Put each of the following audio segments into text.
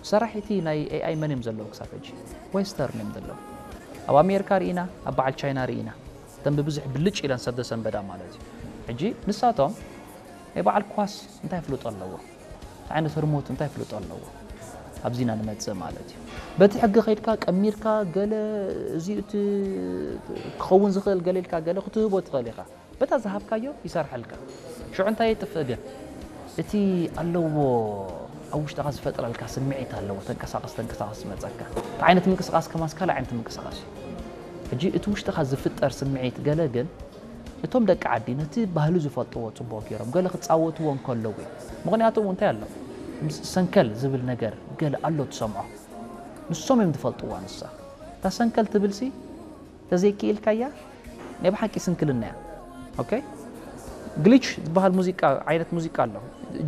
ሰራሒቲ ናይ ኤኣይ መን እዮም ዘለዉ ክሳብ ሕጂ? ዌስተርን እዮም ዘለዉ። ኣብ ኣሜሪካ ርኢና፣ ኣብ በዓል ቻይና ርኢና፣ እተን ብብዝሒ ብልጭ ኢለን ሰብ ዘሰንበዳ ማለት እዩ። ሕጂ ንሳቶም ናይ በዓል ኳስ እንታይ ፍልጦ ኣለዎ? እንታይ ዓይነት ህርሞት እንታይ ፍልጦ ኣለዎ? ኣብዚና ንመጽእ ማለት እዩ። በቲ ሕጊ ከይድካ ቀሚርካ ገለ እዚ እቲ ክኸውን ዝኽእል ገለ ኢልካ ገለ ክትህቦ ትኽእል ኢኻ። በታ ዝሃብካዮ ይሰርሐልካ። ሽዑ እንታይ የጥፍእ ግን? እቲ ኣለዎ ኣብ ውሽጥኻ ዝፈጥረልካ ስምዒት ኣለዎ። ተንቀሳቐስ ተንቀሳቐስ ዝመጸካ። እቲ ዓይነት ምንቅስቓስ ከማስ ካልእ ዓይነት ምንቅስቓስ እዩ። ሕጂ እቲ ውሽጥኻ ዝፍጠር ስምዒት ገለ ግን እቶም ደቂ ዓዲ ነቲ ባህሊ ዝፈልጥዎ ጽቡቕ ገይሮም ገለ ክጻወትዎ እንከለዉ እዩ። ምኽንያቱ እውን እንታይ ኣሎ? ምስ ሰንከል ዝብል ነገር ገለ ኣሎ ትሰምዖ። ንሶም እዮም ዝፈልጥዋ ንሳ። እታ ሰንከል ትብልሲ ተዘይክኢልካያ ናይ ብሓቂ ስንክልና እያ። ኦኬ? ግሊች ዝበሃል ሙዚቃ፣ ዓይነት ሙዚቃ ኣሎ።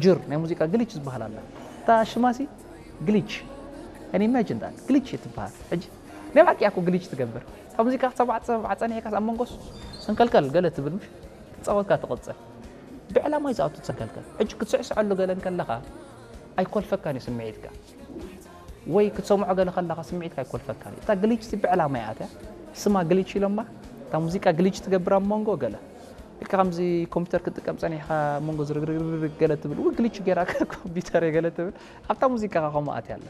ጅር ናይ ሙዚቃ ግሊች ዝበሃል ኣላ። እታ ሽማሲ ግሊች። Can you imagine that? ግሊች እያ ትበሃል። ሕጂ ናይ ብሓቂ እያ እኮ ግሊች ትገብር። እታ ሙዚቃ ክትሰምዓ ትሰምዓ ጸኒሕካስ ኣብ መንጎስ ሰንከልከል ገለ ትብል ምሽ? ክትጻወትካ ትቕጽል። ብዕላማ እዩ ዝኣቱ ትሰንከልከል። ሕጂ ክትስዕስዐሉ ገለ እንከለኻ ኣይኮልፈካን እዩ ስምዒትካ። ወይ ክትሰምዖ ገለ ከለኻ ስምዒትካ ኣይኮልፈካን እዩ። እታ ግሊች ሲ ብዕላማ እያ ኣትያ። ስማ ግሊች ኢሎማ። እታ ሙዚቃ ግሊች ትገብር ኣብ መንጎ ገለ። ልክዕ ከምዚ ኮምፒውተር ክትጥቀም ጸኒሕካ ኣብ መንጎ ዝርግርግርግ ገለ ትብል። ወይ ግሊች ጌራ ኮምፒውተር እየ ገለ ትብል። ኣብታ ሙዚቃ ከምኡ ኣትያ ኣላ።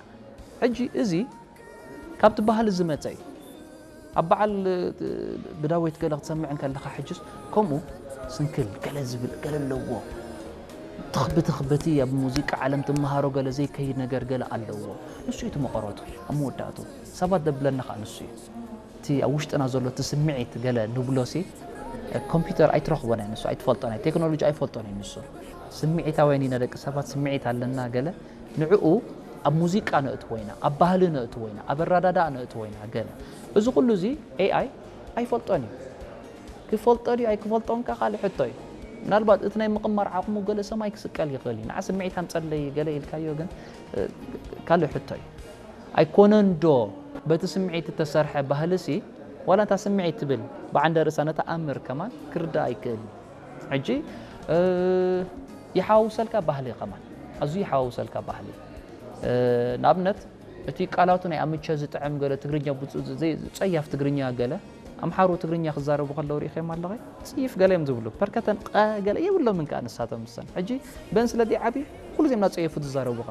ሕጂ እዚ ካብቲ ባህሊ ዝመጸ እዩ። ኣብ በዓል ብዳዊት ገለ ክትሰምዕ እንከለኻ ሕጅስ ከምኡ ስንክል ገለ ዝብል ገለ ኣለዎ። ትኽ ብትኽ በቲ ኣብ ሙዚቃ ዓለም ትመሃሮ ገለ ዘይከይድ ነገር ገለ ኣለዎ። ንሱ እዩ እቲ መቐረቱ። ኣብ መወዳእቱ ሰባት ዘብለና ኸኣ ንሱ እዩ። እቲ ኣብ ውሽጥና ዘሎ እቲ ስምዒት ገለ ንብሎሲ ኮምፒውተር ኣይትረኽቦን እያ ንሱ፣ ኣይትፈልጦን እያ። ቴክኖሎጂ ኣይፈልጦን እዩ ንሱ። ስምዒታውያን ኢና ደቂ ሰባት፣ ስምዒት ኣለና ገለ። ንዕኡ ኣብ ሙዚቃ ነእትዎ ኢና፣ ኣብ ባህሊ ነእትዎ ኢና፣ ኣብ ኣረዳድኣ ነእትዎ ኢና ገለ። እዚ ኩሉ እዚ ኤኣይ ኣይፈልጦን እዩ። ክፈልጦ ድዩ ኣይክፈልጦን ከኣ ካልእ ሕቶ እዩ። ምናልባት እቲ ናይ ምቕማር ዓቕሙ ገለ ሰማይ ክስቀል ይኽእል እዩ። ንዓ ስምዒት ኣምጸለይ ገለ ኢልካዮ ግን፣ እ፣ ካልእ ሕቶ እዩ። ኣይኮነን ዶ በቲ ስምዒት እተሰርሐ ባህልሲ፣ ዋላ እታ ስምዒት ትብል ብዓንደ ርእሳ ነታ ኣምር ከማን ክርዳእ ኣይክእል እዩ። ሕጂ፣ እ፣ ይሓዋውሰልካ ባህሊ ከማን፣ ኣዝዩ ይሓዋውሰልካ ባህሊ። እ፣ ንኣብነት፣ እቲ ቃላቱ ናይ ኣምቸ ዝጥዕም ገለ ትግርኛ ብፁ-፣ ዘይ-፣ ጸያፍ ትግርኛ ገለ፣ ኣምሓሩ ትግርኛ ክዛረቡ ከለዉ ርኢኸዮም ኣለኸ? ጽይፍ ገለ እዮም ዝብሉ። ፐርከተን ቀ ገለ የብሎምን ከኣ ንሳቶም ምሰን። ሕጂ በን ስለ ዘይዓብዩ ኩሉ ዜም እናጸየፉ ዝዛረቡኻ።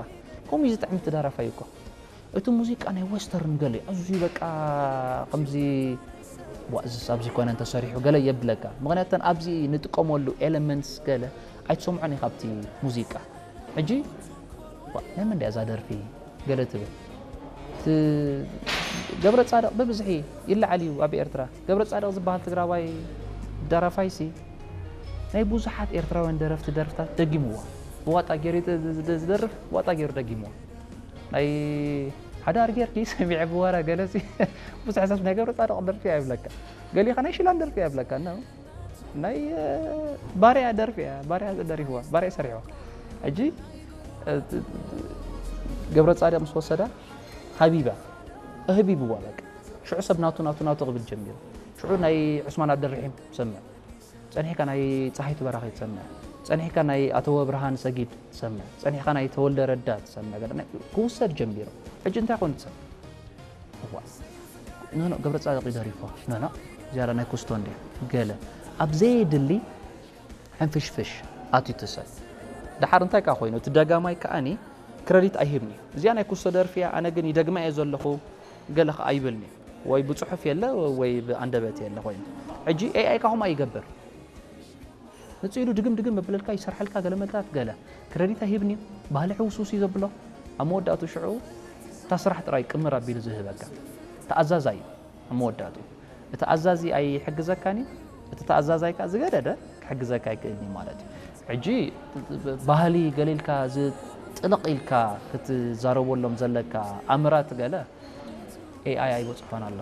ከምኡ እዩ ዝጥዕም እቲ ደራፋይ እኮ። እቲ ሙዚቃ ናይ ወስተርን ገለ እዩ። ኣዝዩ በቃ ከምዚ ዋ፣ እዝስ ኣብዚ ኮነ እንተሰሪሑ ገለ የብለካ። ምኽንያቱ እተን ኣብዚ ንጥቀመሉ ኤለመንትስ ገለ ኣይትሰምዖን ኢኻ ኣብቲ ሙዚቃ። ሕጂ ዋ፣ ናይ መን ድያ እዛ ደርፊ? ገለ ትብል። እቲ ገብረ ጻድቕ ብብዝሒ ይለዓል እዩ ኣብ ኤርትራ። ገብረ ጻድቕ ዝበሃል ትግራዋይ ደራፋይሲ ናይ ብዙሓት ኤርትራውያን ደረፍቲ ደርፍታት ደጊምዎ። ብዋጣ ገይሩ ዝ-፣ ዝ-፣ ዝ-፣ ዝደርፍ ዋጣ ገይሩ ደጊምዎ። ናይ ሓዳር ጌርኪ ሰሚዐ ብወረ ገለሲ ብዙሕ ሰብ ናይ ገብረ ጻድቕ ደርፊ ኣይብለካ። ገሊኻ ናይ ሽላን ደርፊ ኣይብለካ። እና ናይ፣ እ፣ ባርያ ደርፊ እያ፣ ባርያ ደሪፍዋ፣ ባርያ ሰሪሕዋ። ሕጂ፣ እ፣ ት-፣ ገብረ ጻድቕ ምስ ወሰዳ ሃቢባ፣ ኣህቢብዋ በቃ። ሽዑ ሰብ ናቱ፣ ናቱ፣ ናቱ ክብል ጀሚሩ። ሽዑ ናይ ዑስማን ኣብደርሒም ሰምዕ። ጸኒሕካ ናይ ጸሃይቱ በራኺ ትሰምዕ። ጸኒሕካ ናይ ኣተወ ብርሃን ሰጊድ ትሰምዕ። ጸኒሕካ ናይ ተወልደ ረዳ ትሰምዕ። ገለ ናይ ክውሰድ ጀሚሩ። ሕጂ እንታይ ኮይኑ ትሰምዕ? እዋ። ኖ፣ ኖ፣ ገብረ ጻድቕ እዩ ደሪፍዋ። ኖ፣ ኖ፣ እዚኣ ናይ ኩስቶ እንድያ። ገለ። ኣብ ዘየድሊ ሕንፍሽፍሽ ኣትዩ እቲ ሰብ። ደሓር እንታይ ከኣ ኮይኑ፣ እቲ ደጋማይ ከኣኒ ክረዲት ኣይህብን እዩ። እዚኣ ናይ ኩስቶ ደርፊ እያ፣ ኣነ ግን ይደግማ እየ ዘለኹ፣ ገለ ከኣ ኣይብልን እዩ። ወይ ብጽሑፍ የለ፣ ወይ ብኣንደበት የለ ኮይኑ። ሕጂ ኤኣይ ከኣ ከምኣ ይገብር። መጺኡ ኢሉ ድግም ድግም የብለልካ፣ ይሰርሐልካ፣ ገለ መታት ገለ። ክረዲት ኣይህብን እዩ፣ ባህሊ ሕውስውስ እዩ ዘብሎ። ኣብ መወዳእቱ ሽዑ እታ ስራሕ ጥራይ ቅምር ኣቢሉ ዝህበካ። ተኣዛዛይ እዩ ኣብ መወዳእቱ። እቲ ኣዛዚ ኣይሕግዘካን እዩ፣ እቲ ተኣዛዛይ ከኣ ዝገደደ ክሕግዘካ ኣይክእልን እዩ ማለት እዩ። ሕጂ ባህሊ ገለ ኢልካ ዝጥልቕ ኢልካ ክትዛረበሎም ዘለካ ኣምራት ገለ ኤኣይ ኣይበጽሖን ኣሎ።